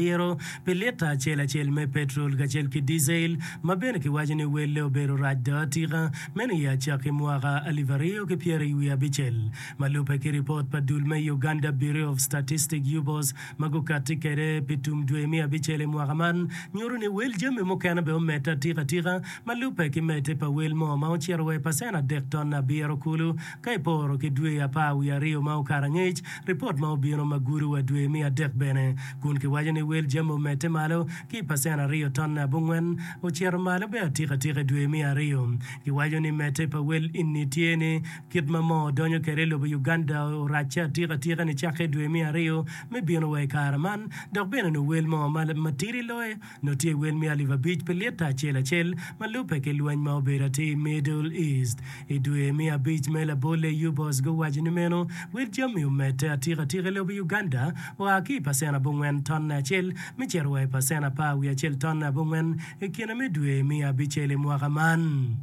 Biro pi lita acel acel me petrol kacel ki dizel ma bene kiwaco ni welle obedo rac do atika meno i acakki mwaka 2026. Ma lubbe ki ripot pa dul me Uganda Bureau of Statistics, UBOS, ma gukatti kwede pi tum dwe me abicel i mwaka man nyuto ni wel jami mukene bene omedde atika atika ma lubbe ki medde pa wel moo ma ocito wa i pacen adek ton abiro kulu ka iporo ki dwe apar wiye aryo ma okato angec. Ripot ma obino ma gudo wa dwe me adek bene kun kiwaco ni wel jami omedde malo ki i pacen aryo tonne abongwen ocito malo bene atika atika i dwe me aryo. Kiwaco ni medde pa wel enni tye ni kit ma moo donyo kwede i lobo Uganda oracce atika atika nicakke i dwe me aryo me bino wa i kare man dok bene nongo wel moo matidi loyo Nongo tye wel me alip abic pi lita acel acel ma lubbe ki lweny ma obedo atir i Middle East. I dwe me abic me labolle, UBOS guwaco ni meno wel jami omedde atika atika i lobo Uganda oa ki i pacen abongwen tonne acel me cito wa i pacen apar wiye acel tonne abongwen i kine me dwe me abicel i mwaka man.